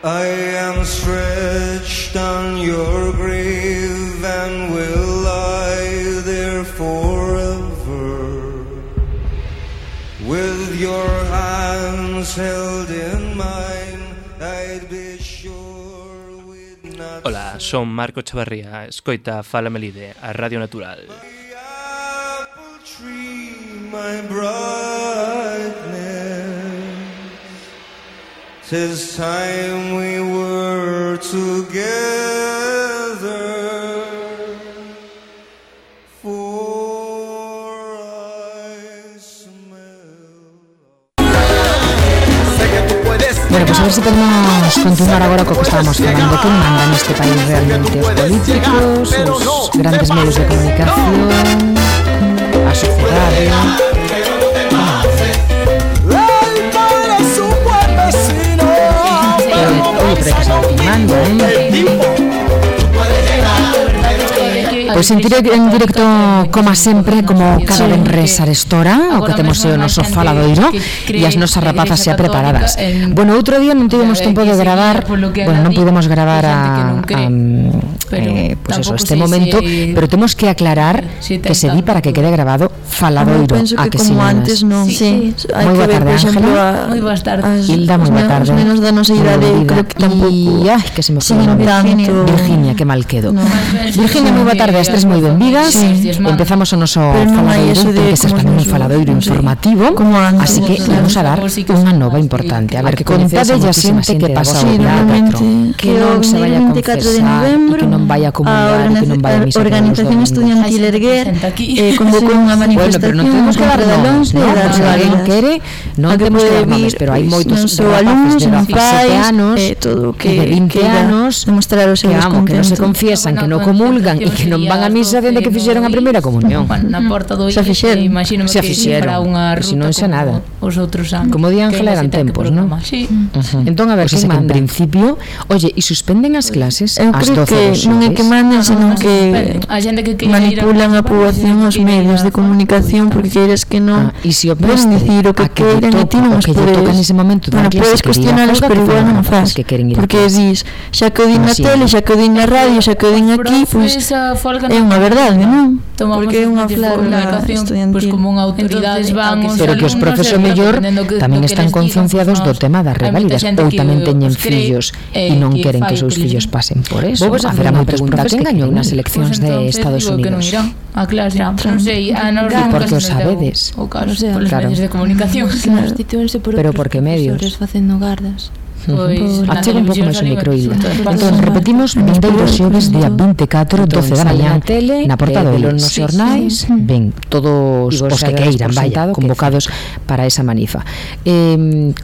I am stretched on your grave and will lie there forever, with your hands held in mine. I'd be sure we'd not. Hola, son Marco Chavarría, escoita Fala Melide, a Radio Natural. My apple tree, my brightness, 'tis time we were together, for I smell. Bueno, pues a ver si podemos continuar agora co que estábamos falando. Quen manda neste país realmente? Os políticos, os grandes medios de comunicación, a sociedade. Oye, pero hay que saber quen manda, Pois en directo, como sempre, como cada venres arestora, o que temos o noso faladoiro e as nosas rapazas xa preparadas. Bueno, outro día non tivemos tempo de gravar, bueno, non pudemos gravar pues eso, este momento, pero temos que aclarar que se di para que quede grabado faladoiro. Penso que como antes non. Sí, moi boa tarde, Ángela. Moi boas tardes. Hilda, moi boa tarde. Os menos da nosa idade, creo que tampouco. Ai, que se me foi Virginia, que mal quedo. Virginia, moi boa tarde. As tres moi benvidas. Empezamos o noso faladoiro, que se tamén un faladoiro informativo, así que vamos a dar unha nova importante. A ver, que contade a xente que pasa o día 4, que non se vaya a confesar, que non vaya a comunicar, que non vaya a misa. A Organización Estudiantil Erguer convocou unha manifestación. Bueno, pero non temos que dar nomes, ¿no? Se alguén quere, non temos que dar nomes, pero hai moitos alumnos, de 17 anos, todo que de 20 anos, demostrar o seu descontento, que non se confiesan, que non comulgan e que non van a misa dende que fixeron a primeira comunión. Na porta do xa fixeron, imagínome que para unha ruta, se non xa nada. Os outros anos. Como di Ángela, eran tempos, non? Sí. Entón, a ver, que en principio, oye, e suspenden as clases ás 12 horas. Non é que manden, senón que manipulan a poboación os medios de comunicación, porque queres que non poden dicir o que queren e ti non os podes. Bueno, podes cuestionalos, pero igual non o faz, porque dis, xa que o din na tele, xa que o din na radio, xa que o din aquí, pois é unha verdade, non? Porque é unha flaga estudiantil, como unha autoridade, pero que os profes o mellor tamén están concienciados do tema das reválidas, ou tamén teñen fillos e non queren que os seus fillos pasen por eso. Vou facer unha pregunta: quen gañou nas eleccións de Estados Unidos? A clase, non sei, a nos porque os sabedes, polos medios de comunicación. Pero por que medios? Facendo gardas. Achega un pouco máis o micro, Hilda. Entón, repetimos, vindeiro xoves, día 24, 12 da mañá, na porta do nos xornais, ven todos os que queiran, vaya, convocados para esa manifa.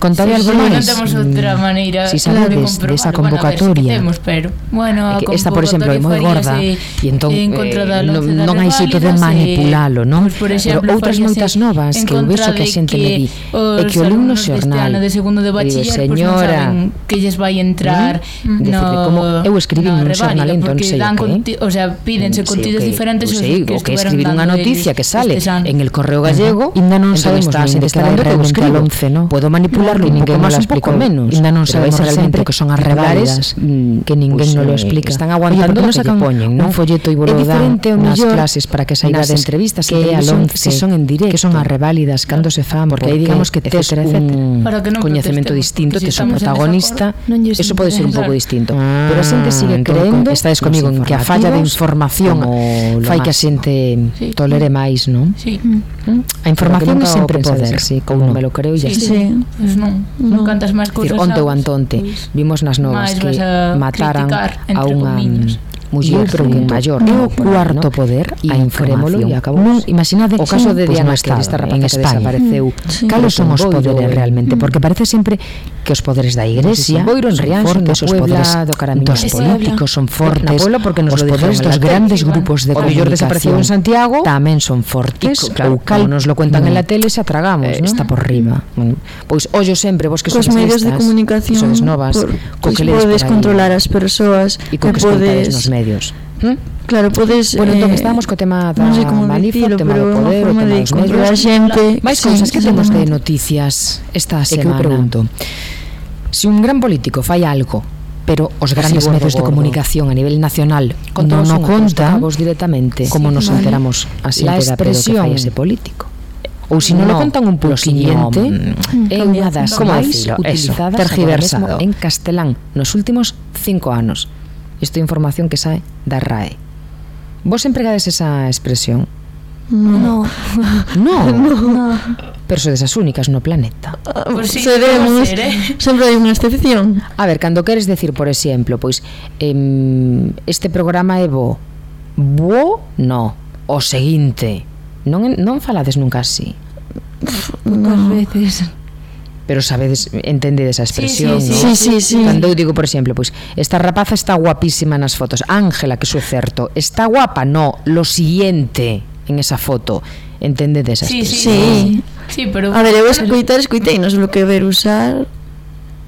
Contade algo máis? Non temos outra maneira. Si sabedes desa convocatoria, esta, por exemplo, é moi gorda, e entón non hai xeito de manipulalo, non? Pero outras moitas novas que eu vexo que a xente me di é que o alumno xornal, digo, señora, que lles vai entrar como eu escribí un xornal, entón sei que, o sea, pídense contidos diferentes, o que escribir unha noticia que sale en el Correo Gallego, ainda non sabemos realmente que eu escribo, podo manipularlo un pouco máis, un pouco menos, ainda non sabemos realmente que son as reválidas, que ninguén non lo explica, están aguantando o que poñen, un folleto e bolo dan nas clases para que saibades entrevistas que é se son en directo, que son as reválidas, cando se fan, porque aí digamos que tes un coñecemento distinto, tes un protagonista, eso pode ser un pouco distinto, pero a xente sigue creendo, estades comigo, en que a falla de información fai que a xente tolere máis, non? Sí. A información é sempre poder, ou non me lo creo, e sí, non cantas máis cousas. Onte ou antonte vimos nas novas que mataran a unha muller maior, é o cuarto poder, a información, e acabou. Imaginade o caso de Diana Estado, esta rapaza que desapareceu. Cales son os poderes realmente? Porque parece sempre que os poderes da Igrexa son fortes, os poderes dos políticos son fortes, os poderes dos grandes grupos de comunicación en Santiago tamén son fortes, ou cal nos lo cuentan en la tele se atragamos, está por riba. Pois ollo sempre, vos que sois medios de comunicación novas, co que podes controlar as persoas e co que podes nos medios. Claro, podes... Bueno, entón estábamos co tema da manifa, o tema do poder, o tema dos medios. Xente, máis cousas que temos de noticias esta semana. Que eu pregunto, Se un gran político fai algo, pero os grandes medios de comunicación a nivel nacional non o contan directamente, como nos enteramos a xente da pedo que fai ese político. Ou se non lo contan un pouco siguiente, é unha das máis utilizadas tergiversado en castelán nos últimos 5 anos. Isto é información que sae da RAE. Vos empregades esa expresión? No. Pero sodes as únicas no planeta. Pues sí, seremos, sempre hai unha excepción. A ver, cando queres decir, por exemplo, pois este programa é bo. Bo, no. O seguinte. Non falades nunca así. Poucas veces. Pero sabedes, entendedes a expresión, sí, sí. Cando eu digo, por exemplo, pois esta rapaza está guapísima nas fotos. Ángela, que iso é certo. Está guapa? No, lo siguiente en esa foto. Entendedes a expresión? Sí, pero a ver, eu escoitei, non sei o que ver usar.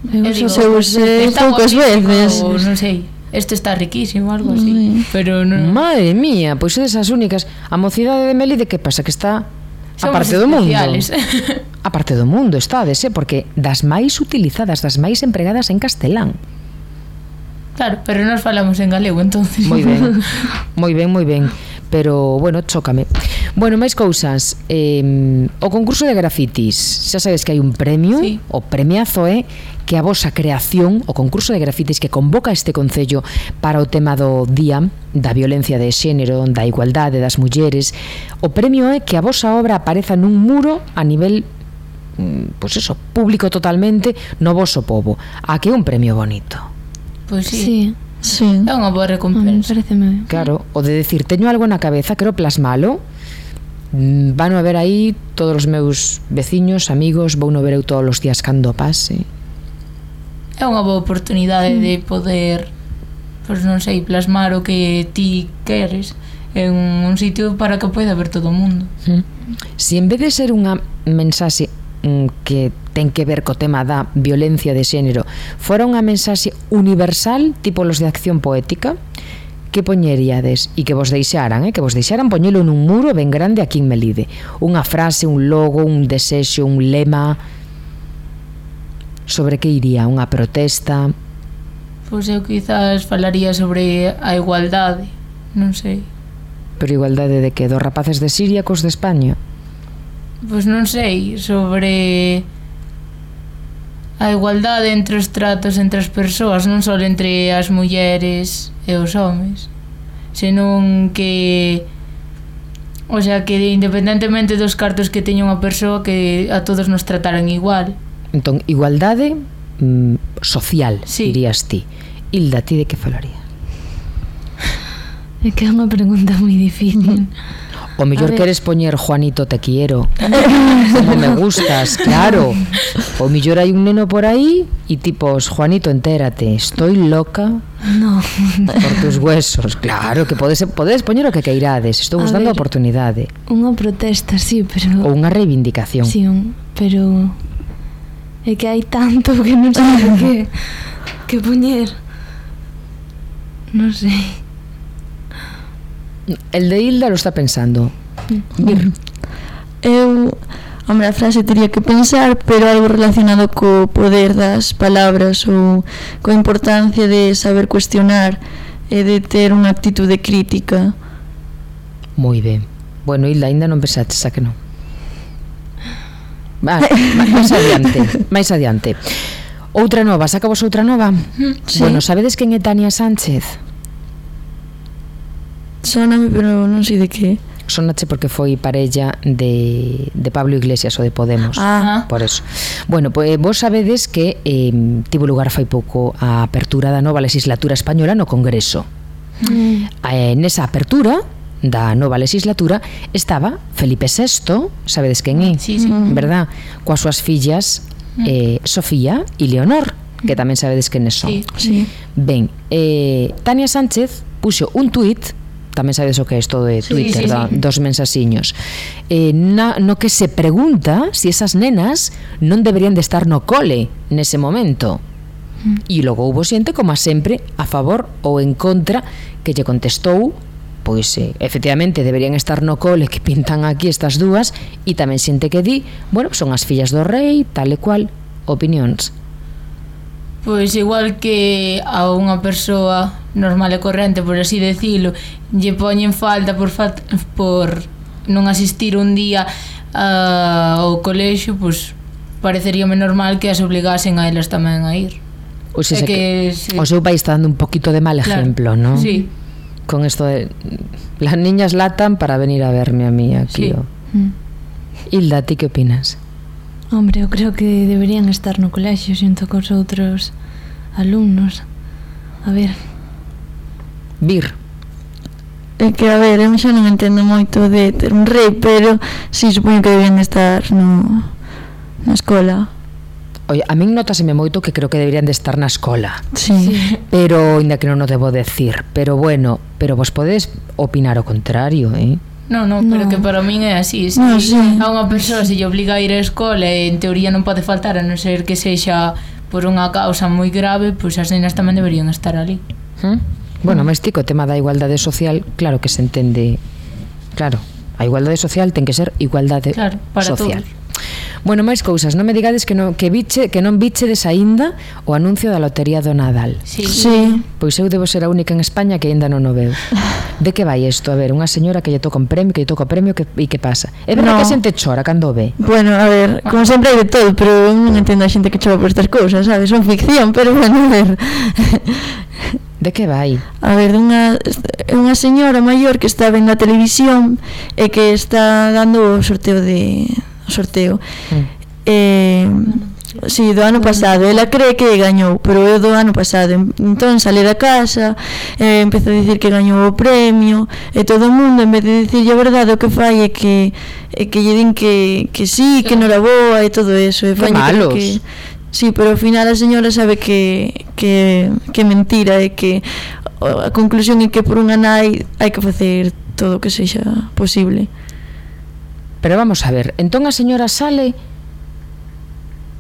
Eu usei poucas veces. Non sei. Este está riquísimo, algo así. Pero non. Madre mía, pois é desas únicas. A mocidade de Melide, que pasa? Que está a parte do mundo. A parte do mundo estades, porque das máis utilizadas, das máis empregadas en castelán. Claro, pero nós falamos en galego, entonces. Moi ben. Pero, bueno, chócame. Bueno, máis cousas. O concurso de grafitis. Xa sabes que hai un premio, sí. O premiazo é que a vosa creación, o concurso de grafitis que convoca este concello para o tema do día da violencia de xénero, da igualdade das mulleres, o premio é que a vosa obra apareza nun muro a nivel pois eso, público totalmente no voso pobo. A que é un premio bonito. Pois sí. É unha boa recompensa. Claro, o de decir, teño algo na cabeza, quero plasmalo. Vano a ver aí todos os meus veciños, amigos, vou no ver eu todos os días cando pase. É unha boa oportunidade de poder, pois non sei, plasmar o que ti queres en un sitio para que poida ver todo o mundo. Si en vez de ser unha mensaxe que ten que ver co tema da violencia de xénero fora unha mensaxe universal, tipo los de Acción Poética, que poñeríades e que vos deixaran poñelo nun muro ben grande aquí en Melide, unha frase, un logo, un desexo, un lema? Sobre que iría? Unha protesta? Pois eu quizás falaría sobre a igualdade, non sei. Pero igualdade de que? Dos rapaces de Siria cos de España? Pois non sei, sobre a igualdade entre os tratos entre as persoas, non só entre as mulleres e os homes, senón que, o sea, que independentemente dos cartos que teña unha persoa, que a todos nos trataran igual. Entón, igualdade social, sí. Dirías ti. Hilda, ti de que falaría? É que é unha pregunta moi difícil. O mellor queres poñer Juanito te quiero, como me gustas, claro. O mellor hai un neno por aí e tipos, Juanito, entérate, estoy loca por tus huesos. Claro, que podes poñer o que queirades. Estou vos dando a oportunidade. Unha protesta, sí, pero... Ou unha reivindicación. Sí, pero... É que hai tanto que non sei que poñer. Non sei. El de Hilda lo está pensando. Hombre, a frase tería que pensar, pero algo relacionado co poder das palabras ou coa importancia de saber cuestionar e de ter unha actitude crítica. Moi ben. Bueno, Hilda, ainda non pensaste, xa que non. máis adiante. Outra nova, sacamos outra nova? Sí. Bueno, sabedes quen é Tania Sánchez? Sóname, pero non sei de que. Sónache porque foi parella de Pablo Iglesias ou de Podemos. Por eso. Bueno, pues vos sabedes que tivo lugar fai pouco a apertura da nova legislatura española no Congreso. Nesa apertura da nova legislatura estaba Felipe VI, sabedes quen é? Sí. Verdad? Coas súas fillas Sofía e Leonor, que tamén sabedes quen son. Sí. Ben, Tania Sánchez puxo un tuit, tamén sabedes o que é isto de Twitter, sí. Dos mensaxiños, no que se pregunta se esas nenas non deberían de estar no cole nese momento. E logo houbo xente, como sempre, a favor ou en contra, que lle contestou pois efectivamente deberían estar no cole, que pintan aquí estas dúas, e tamén xente que di, bueno, son as fillas do rei, tal e cual. Opinións? Pois igual que a unha persoa normal e corrente, por así decirlo, lle poñen falta por non asistir un día ao colexio, pois pareceríame normal que as obligasen a elas tamén a ir. O sea, que o seu país está dando un poquito de mal ejemplo, ¿no? Sí. Con esto de las niñas latan para venir a verme a mí aquí. Sí. Hilda, ¿ti que opinas? Hombre, eu creo que deberían estar no colexio xunto cos outros alumnos. A ver. Vir. É que, a ver, eu xa non entendo moito de ter un rei, pero si supoño que deberían estar na escola. Oye, a min notaseme moito que creo que deberían de estar na escola. Sí. Pero, ainda que non o debo decir, pero bueno, pero vos podedes opinar o contrario, No, pero que para min é así. No, sí. A unha persoa se lle obliga a ir á escola e en teoría non pode faltar, a non ser que sexa por unha causa moi grave, pois as nenas tamén deberían estar ali. Bueno, mas tico, o tema da igualdade social, claro que se entende. Claro, a igualdade social ten que ser igualdade social. Todos. Bueno, máis cousas, non me digades que non bichedes aínda o anuncio da lotería do Nadal. Sí. Pois eu debo ser a única en España que aínda non o veu. De que vai isto? A ver, unha señora que lle toca un premio, e que pasa? É verdade que a xente chora cando o ve? Bueno, a ver, como sempre hai de todo, pero eu non entendo a xente que chora por estas cousas, sabes? Son ficción, pero bueno, a ver. De que vai? A ver, unha señora maior que está vendo a televisión e que está dando o sorteo. Si, do ano pasado. Ela cree que gañou, pero é do ano pasado. Entón sale da casa, empeza a dicir que gañou o premio, e todo o mundo, en vez de dicirlle a verdade, o que fai é que lle din que sí, que noraboa e todo eso. Que malos. Sí, pero ao final a señora sabe que mentira, e que a conclusión é que por unha nai hai que facer todo o que sexa posible. Pero vamos a ver, entón a señora sale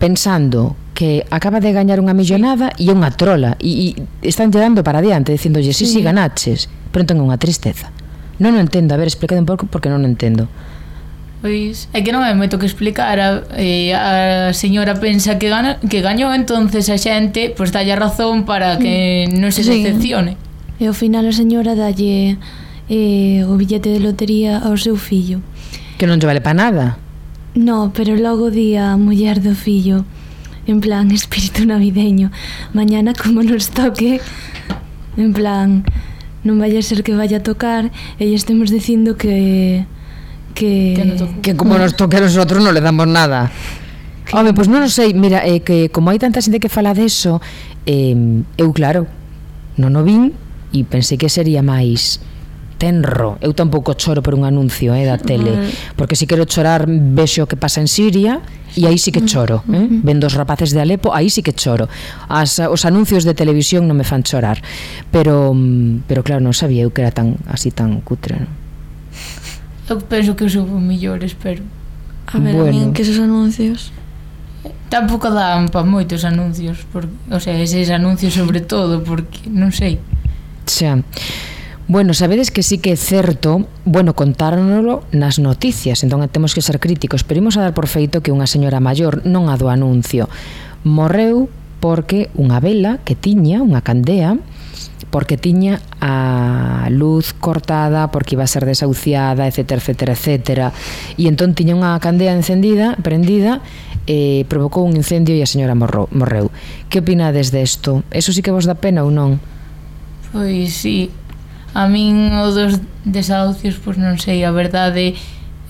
pensando que acaba de gañar unha millonada e é unha trola, e están dando para adiante dicindolle, sí, ganaches, pero entón é unha tristeza. Non o entendo, a ver, explícade un pouco porque non o entendo. Pois é que non hai moito que explicar. A señora pensa que gañou, entonces a xente pois dalle a razón para que non se decepcione. E ao final a señora dalle o billete de lotería ao seu fillo. Que non lle vale para nada. No, pero logo di a muller do fillo, en plan espírito navideño, mañana como nos toque, en plan non vai a ser que vaya a tocar e estemos dicindo que como nos toque a nosotros non le damos nada. Home, pois non sei, mira, que como hai tanta xente que fala deso, eu claro, non o vin e pensei que sería máis tenro. Eu tampouco choro por un anuncio da tele, porque se quero chorar vexo o que pasa en Siria e aí sí que choro, vendo os rapaces de Alepo, aí sí que choro. Os anuncios de televisión non me fan chorar, pero claro, non sabía eu que era tan cutre, non? Eu penso que son millores, pero a ver, bueno, a mí que esos anuncios tampouco dan para moitos anuncios, o sea, eses anuncios sobre todo, porque non sei. Xa. Bueno, sabedes que sí que é certo, bueno, contárnoslo nas noticias, entón temos que ser críticos, pero imos a dar por feito que unha señora maior, non a do anuncio, morreu porque unha vela que tiña, unha candea, porque tiña a luz cortada, porque iba a ser desahuciada, etcétera, e entón tiña unha candea prendida, provocou un incendio e a señora morreu. Que opinades desto? Eso sí que vos dá pena ou non? Pois sí. A min o dos desahucios, pois non sei, a verdade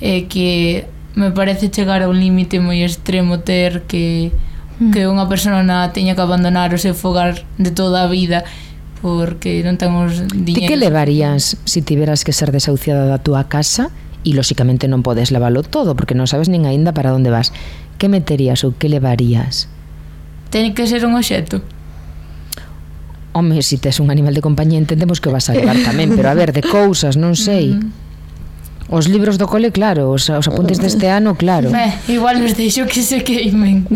é que me parece chegar a un límite moi extremo ter que unha persona teña que abandonar o seu fogar de toda a vida porque non ten os diñeiros. Ti que levarías se tiveras que ser desahuciada da túa casa e lóxicamente non podes leválo todo porque non sabes nin aínda para onde vas? Que meterías ou que levarías? Ten que ser un obxecto. Home, se tes un animal de compañía entendemos que o vas a levar tamén, pero a ver, de cousas, non sei. Os libros do cole, claro, os apuntes deste ano, claro. Igual os deixo que se queimen.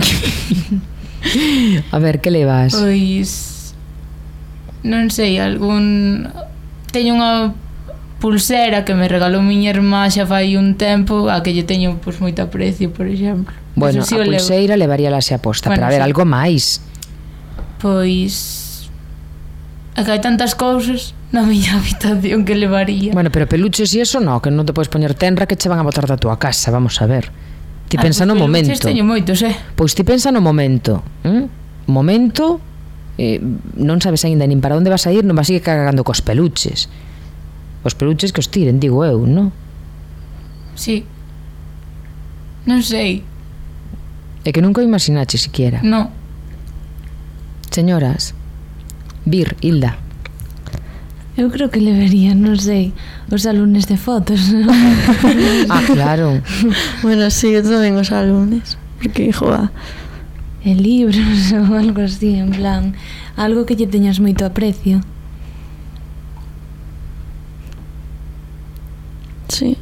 A ver, que levas? Pois non sei, teño unha pulsera que me regalou miña irmá xa fai un tempo, a que lle teño pois moito aprecio, por exemplo. Bueno, a pulseira levaría la xa posta, pero a ver, algo máis. Pois é que hai tantas cousas na miña habitación que levaría. Bueno, pero peluches e eso no, que non te podes poñer tenra que che van a botar da túa casa, vamos a ver. Ti pensa no momento. Peluches teño moitos, Pois ti pensa no momento. Momento, non sabes aínda nin para onde vas a ir, non vas a ir cagando cos peluches. Os peluches que os tiren, digo eu, non? Sí. Non sei. É que nunca o imaginache siquiera. No. Señoras, Vir, Hilda. Eu creo que levería, non sei, os álbumes de fotos. Ah, claro. Bueno, sí, eu tamén os álbumes. Porque, joa, libros ou algo así, en plan, algo que lle teñas moito aprecio. Sí.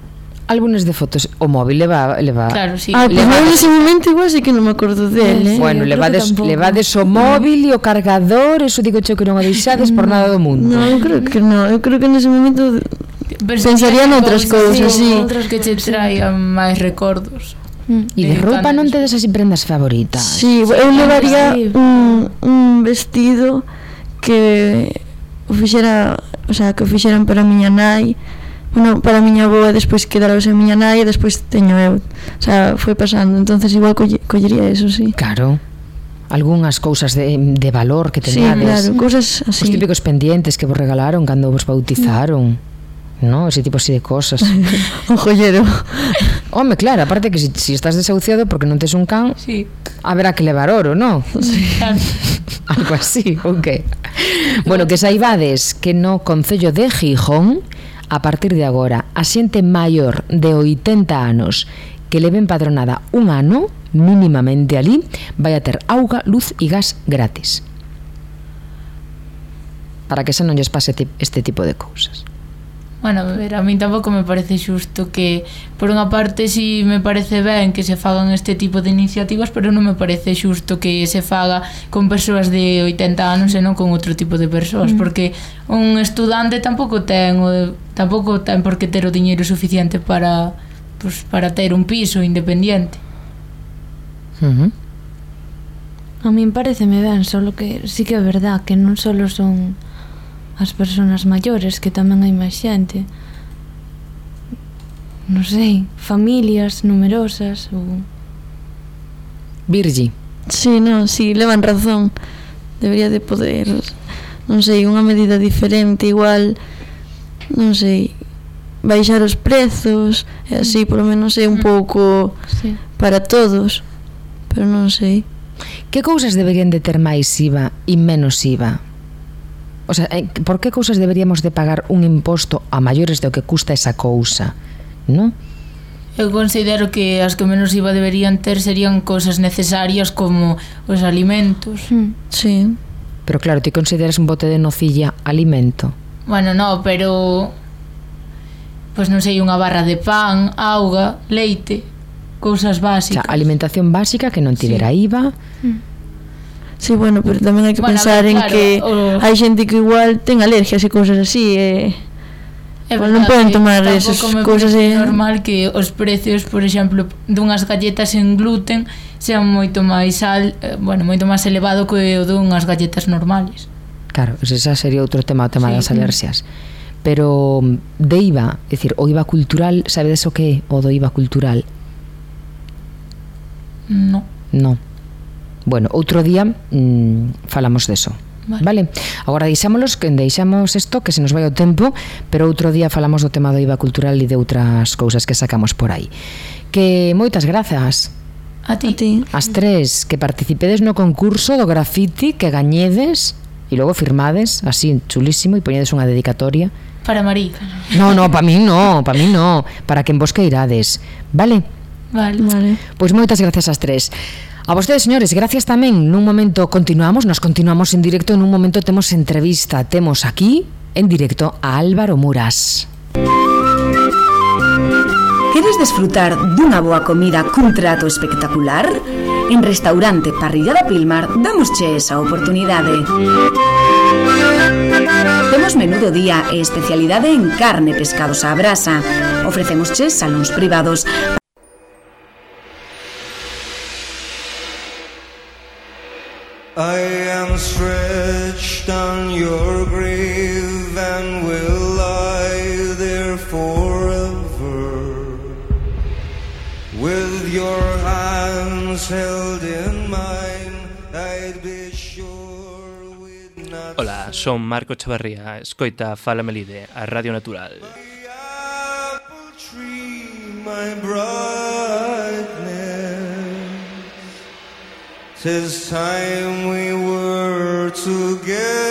Álbumes de fotos, o móvil leva... Claro, sí. Pues en ese momento igual sí que non me acordo dele. Bueno, levades o móvil e o cargador, eso digo che que non o deixades por nada do mundo. No, eu creo que non, eu creo que nese momento pensaría noutras cousas, sí. Outras que che traian máis recordos. E de roupa non tedes así prendas favoritas? Sí, eu levaría un vestido que o fixera, o sea, que o fixeran para a miña nai. Bueno, para a miña avó e despois quedaros en miña nai e despois teño eu. O sea, foi pasando. Entonces igual collería eso, sí. Claro. Algúnas cousas de valor que teñades. Sí, claro, cousas así. Os típicos pendientes que vos regalaron cando vos bautizaron. No, ese tipo así de cosas. Un joyero. Home, claro, aparte que si estás desahuciado porque non tes un can, sí, haberá que levar oro, ¿no? Sí. Algo así, ok. Bueno, que saibades que no concello de Gijón, a partir de agora, a xente maior de 80 anos que leven padronada un ano, mínimamente ali, vai a ter auga, luz e gas gratis. Para que xa non lles pase este tipo de cousas. Bueno, a ver, a mí tampouco me parece xusto que, por unha parte, si me parece ben que se fagan este tipo de iniciativas, pero non me parece xusto que se faga con persoas de 80 anos e non con outro tipo de persoas, porque un estudante tampouco ten por que ter o diñeiro suficiente para ter un piso independiente. A min pareceme ben, solo que sí que é verdad que non só son as persoas maiores, que tamén hai máis xente, non sei, familias numerosas ou... Virgi. Sí, non, sí, levan razón. Debería de poder, non sei, unha medida diferente, igual, non sei, baixar os prezos, e así, polo menos é un pouco para todos, pero non sei. Que cousas deberían de ter máis IVA e menos IVA? O sea, por que cousas deberíamos de pagar un imposto a maiores do que custa esa cousa, non? Eu considero que as que menos IVA deberían ter serían cousas necesarias como os alimentos. Sí. Pero claro, ti consideras un bote de nocilla alimento? Bueno, no, pero... Pois non sei, unha barra de pan, auga, leite, cousas básicas. O sea, alimentación básica que non tivera IVA... Sí, bueno, pero tamén hai que pensar en que hai xente que igual ten alergias e cousas así non poden tomar esas cousas. É normal que os precios, por exemplo, dunhas galletas en gluten sean moito máis moito máis elevado que o dunhas galletas normales. Claro, ese sería outro tema, o tema das alerxias. Pero de IVA, é dicir, o IVA cultural, sabedes o que é o do IVA cultural? No. Bueno, outro día falamos deso. Vale. Agora deixamos isto que se nos vai o tempo, pero outro día falamos do tema do IVA cultural e de outras cousas que sacamos por aí. Que moitas grazas a ti. As tres que participedes no concurso do grafiti, que gañedes e logo firmades así chulísimo e poñedes unha dedicatoria para María. No, para min no, para quen vos queirades. Vale. Pois moitas grazas ás tres. A vostedes, señores, gracias tamén. Nun momento nos continuamos en directo. Nun momento temos entrevista. Temos aquí, en directo, a Álvaro Muras. Queres desfrutar dunha boa comida cun trato espectacular? En Restaurante Parrillada Pilmar damosche esa oportunidade. Temos menú do día e especialidade en carne e pescados á brasa. Ofrecemosche salóns privados. I am stretched on your grave and will lie there forever, with your hands held in mine. I'd be sure we'd not. Hola, son Marco Chavarría, escoita Fala Melide, a Radio Natural. My apple tree, my brightness, 'tis time we were together.